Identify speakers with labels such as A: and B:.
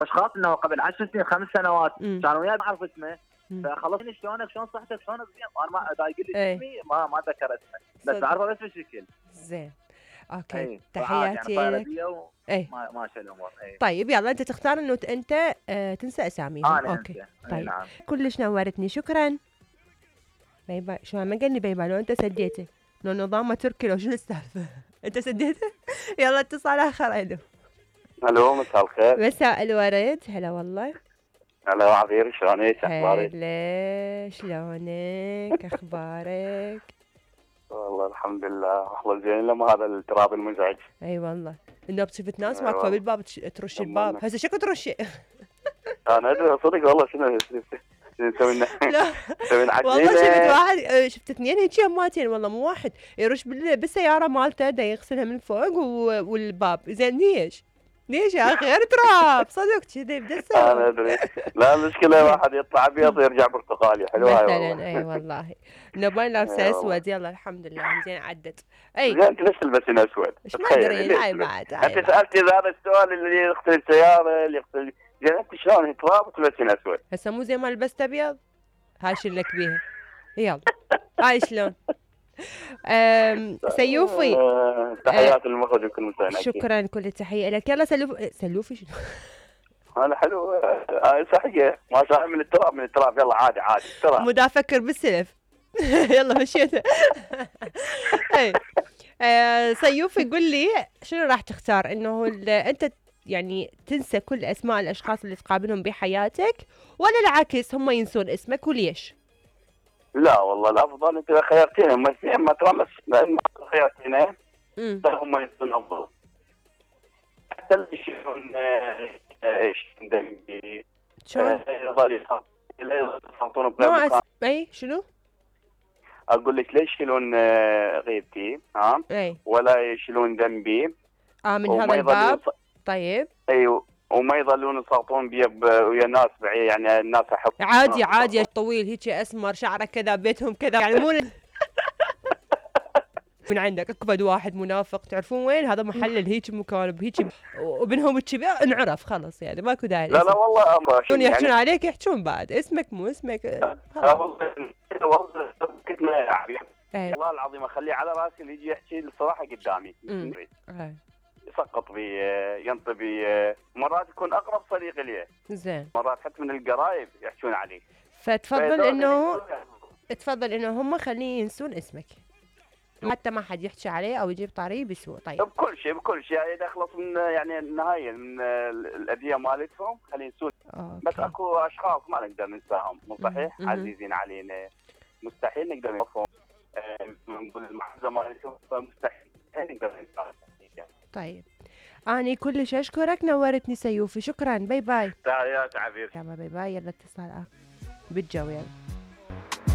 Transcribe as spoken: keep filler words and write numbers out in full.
A: اشخاص انه قبل عشر سنين خمس سنوات
B: مم.
A: كانوا وياي ما اعرف اسمه،
B: مم.
A: فخلصني شلونك شلون صحتك شلونك زين، انا ما اذا يقول لي
B: ايه.
A: اسمي ما ما اتذكر اسمه، بس
B: صدق.
A: اعرفه بس بالشكل.
B: زين اوكي
A: اي
B: تحياتي
A: يعني
B: لك.
A: بيا و...
B: ايه
A: ما ماشي الامور. اي
B: طيب يلا انت تختار انه ت- انت آه تنسى اساميهم.
A: انا
B: اوكي
A: انسى. اي
B: طيب
A: نعم.
B: كلش نورتني شكرا. باي باي. شو ما قال لي باي باي لو انت سديته لو نظامه تركي لو شنو السالفه انت سديته. يلا اتصال اخر. الو
C: الو مساء الخير.
B: مساء الورد. هلا والله.
C: هلا عبير شلونك اخبارك؟
B: هلا شلونك اخبارك؟
C: والله الحمد لله احلى زين لما هذا التراب المزعج.
B: اي والله النوب شفت ناس
C: أي
B: واقفه
C: والله.
B: بالباب تش- ترش الباب. هسه شكو ترشي؟
C: انا ادري صدق والله شنو شنو نسوي لنا
B: لا
C: نسوي لنا
B: والله شفت
C: عجينة.
B: واحد آه، شفت اثنين هيك يماتين والله مو واحد يرش بال- بالسياره مالته دا يغسلها من فوق و- والباب. زين ليش؟ ليش يا اخي غير تراب صدق كذي بدي
C: انا
B: اسوي
C: ادري. لا المشكله واحد يطلع ابيض ويرجع برتقالي. حلوه هاي
B: مثلا.
C: والله.
B: اي والله نبان لابسه
C: أي والله.
B: اسود. يلا الحمد لله زين عدت. اي
C: زين انت ليش تلبسين اسود؟
B: ايش ما
C: تخيلي
B: ادري.
C: ليش
B: هاي
C: تلبس-
B: بعد هاي
C: انت
B: بعد.
C: سالتي هذا السؤال اللي يغسل السياره اللي يغسل. زين انت شلون تراب تلبسين اسود؟
B: هسه مو زي ما لبست ابيض هاي شلك بيها. يلا هاي شلون. أم، سيوفي
C: آه، تحياتي للمخرج وكل مستمعين.
B: شكرا كل التحيه لك. يلا سلوف سلوفي شنو.
C: انا حلو. آه، صحيح ما شاء الله من التراب من التراب. يلا عادي عادي تراب.
B: مو دا افكر بالسلف. يلا مشيتها. اي آه، سيوفي قل لي شنو راح تختار انه ال- انت يعني تنسى كل اسماء الاشخاص اللي تقابلهم بحياتك ولا العكس هم ينسون اسمك وليش؟
C: لا والله الافضل انت اذا خيرتيني هم اثنين ما ترى بس ما خيرتيني
B: امم
C: هم يكونوا افضل. حتى اللي يشوفون آه، ايش عندهم
B: شلون؟
C: يظل يحطون
B: مو
C: بلا
B: أس... اي شنو؟
C: اقول لك ليش يشيلون آه، غيبتي ها
B: اي
C: ولا يشيلون ذنبي
B: اه من
C: وما
B: هذا
C: يظلون
B: الباب.
C: يص-
B: طيب
C: ايوه وما يظلون يسلطون بي ب- ويا ناس بعيد يعني الناس احب
B: عادي عادي طويل هيك اسمر شعره كذا بيتهم كذا يعني مو من عندك اكبد واحد منافق تعرفون وين هذا محلل هيك مكان بهيك وبينهم كذا انعرف خلاص يعني ماكو داعي.
C: لا لا والله أمر
B: شلون يحجون عليك يحجون بعد اسمك مو اسمك.
C: لا
B: خلاص.
C: والله والله كنت ما يعني
B: اي
C: والله العظيم اخليه على راسي اللي يجي يحكي الصراحه قدامي
B: أمم. اي
C: يسقط بي ينطي بي مرات يكون اقرب صديق لي
B: زين
C: مرات حتى من القرايب يحكون عليه.
B: فتفضل
C: فهذول
B: انه
C: اللي-
B: تفضل انه هم خليه ينسون اسمك حتى ما حد يحكي عليه او يجيب طاري بسوء. طيب
C: بكل شيء بكل شيء يعني اذا اخلص من يعني النهايه من الاذيه مالتهم خلينا نسول. بس
B: اوكي
C: اكو اشخاص ما نقدر ننساهم مو صحيح
B: مم.
C: عزيزين علينا مستحيل نقدر نوصفهم. آه، نقول المحفظه مالتهم فمستحيل نقدر ننساهم.
B: طيب اني كلش اشكرك نورتني سيوفي. شكرا باي باي.
C: تحيات عبير.
B: يلا باي باي. يلا اتصال اخر بالجو يلا.